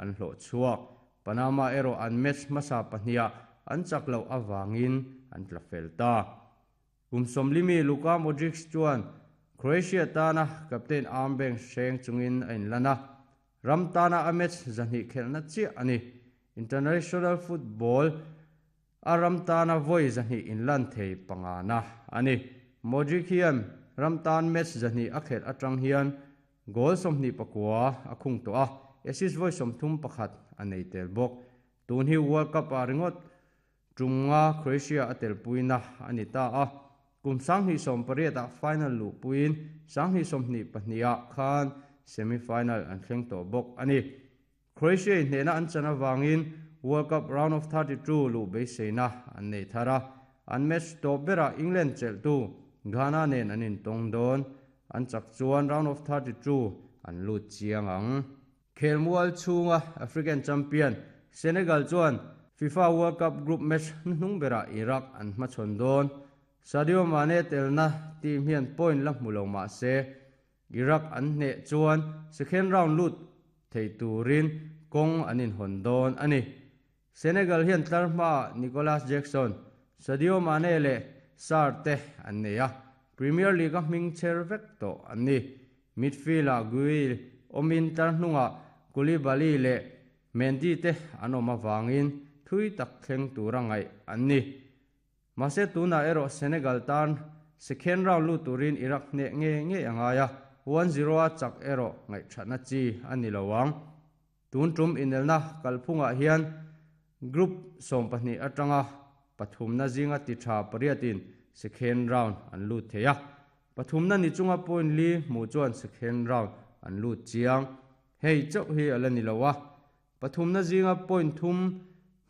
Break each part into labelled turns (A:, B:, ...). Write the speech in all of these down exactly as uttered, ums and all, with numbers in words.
A: an hlo chuak Panama ero an match masa pahnia an chaklo awangin an tlafel ta kumsom limi Luka Modric chuan Croatia tana captain armband hreng chungin a inlana ram tana a match zahnih khelna chiah ani international football a ram tana voi zahnih inlan thei pangana ani Modric hian ram tan match zahnih a khel atang hian goal sawmhnih pakua a khung to a assist voi sawmthum pakhat a nei tel bawk tun hi World Cup a ringot tunga Croatia a tel puina ani ta a kum sanghnih sawm pariat a final lu puin sanghnih sawmhnih pahnih khan semi final an thleng tawh bawk ani Croatia hnena an chana wangin World Cup round of thirty-two lu beiseina an nei thara an match to bera England cheltu Ghana nen an in tong don an chak chuan round of thirty-two an lu chiang ang khelmual chunga African champion Senegal chuan FIFA World Cup group match hnung bera Iraq an hmachhawn don Sadio Mane telna team hian point la hmulo ma se Iraq an hne chuan second round lut thei turin kong an in hon don ani Senegal hian tlarhma Nicolas Jackson Sadio Mane le Sarte an neia Premier League a hming cher vek to an ni midfield a Guil omin tlarhnunga Koulibaly le Mendy te an awm awangin thui tak thleng tura ngaih an ni mase tuna ero Senegal tan second round lu turin Iraq hne nge nge angaya one zero a chak ero ngaih thatna chi ani lowang tun tum inelna kalphunga hian group sawm pahnih atanga pathumna zinga ti tha pariatin second round an lut theia pathumna ni chunga point li mu chuan second round an lut chiang hei chauh hi ala ni lowa pathumna zinga point thum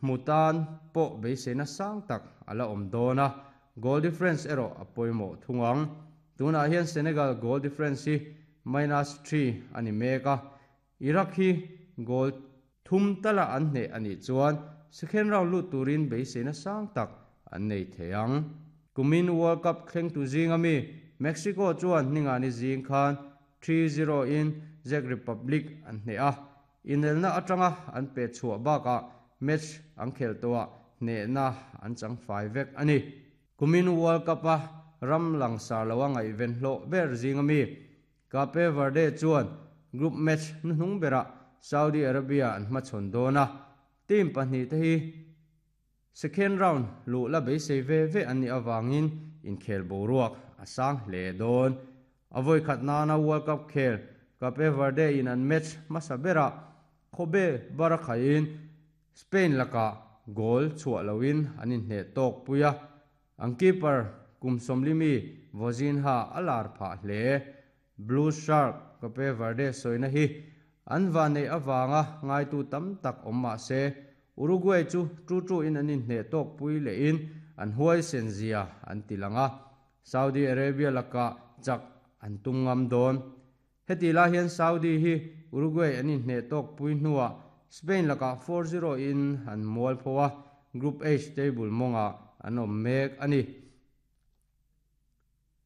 A: mutan po beiseina sang tak ala awm dawna goal difference ero a pawimawh thungang tunah hian Senegal goal difference hi minus three ani mek a Iraq hi goal thum tala an hne ani chuan second round lut turin beiseina sang tak an nei theiang kumin World Cup thleng tu zinga mi Mexico chuan hninga ni zing khan three zero in Czech Republic an hne a inelna atanga an pe chhuah bakah match an khel toa hne na an chang fai vek ani kumin World Cup a ram langsar lawa ngai ven hlo ber zinga mi Cape Verde chuan group match hnung bera Saudi Arabia an hmachhawn dawna team pahnih te hi second round lu la beisei ve ve an ni awangin inkhel boruak a sang hle dawn avoi khat nana World Cup khel Cape Verde in an match hmasa bera khobe barakhain Spain laka goal chhuah loin an in hne tawk puia ang keeper kum sawmlimi Vozinha alar pha hle Blue Shark Cape Verde soina hi an vanei awanga ngai tu tam tak awm ma se Uruguay chu two two in an in hne tawk pui le in an huai sen zia an tilanga Saudi Arabia laka chak an tungam dawn heti la hian Saudi hi Uruguay an in hne tawk pui hnuah Spain laka four zero in an mual phowa Group H table monga an awm mek ani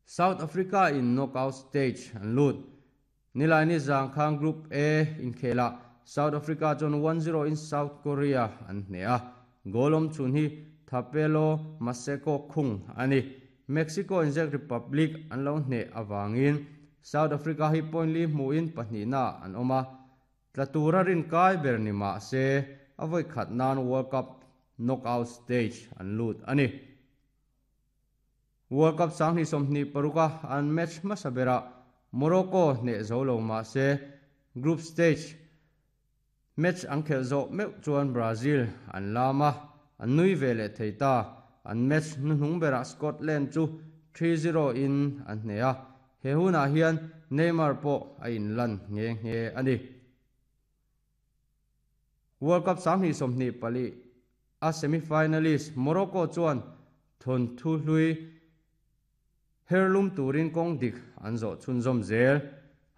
A: South Africa in knockout stage an lut nilai ni zangkhang Group A in khela South Africa chon one zero in South Korea an hne a golom chun hi Thapelo Maseko khung ani Mexico in Czech Republic an lo hne awangin South Africa hi point li hmu in pahnih na an awma tlatura rin kai ber ni ma se avoi khat nan World Cup knockout stage an lut ani World Cup sanghnih sawmhnih paruka an match hmasa bera Morocco hne zo lo ma se group stage match an khel zo meuh chuan Brazil an lama an nui ve leh thei ta an match hnuhnung bera Scotland chu three zero in an hne a he hunah hian Neymar pawh a inlan nge nge ani World Cup sanghnih sawmhnih pali a semi-finalist Morocco chuan thon thu hlui herlum turin kawng dik an zawh chhunzawm zel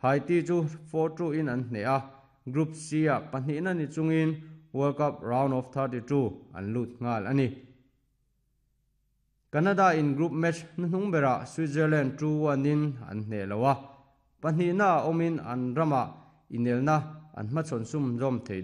A: Haiti chu four two in an hne a Group C a pahnihna ni chungin World Cup round of thirty-two an lut nghal ani Canada in group match hnuhnung bera Switzerland two one in an hne loa pahnihna awmin an rama inelna an hmachhawn sum zawm thei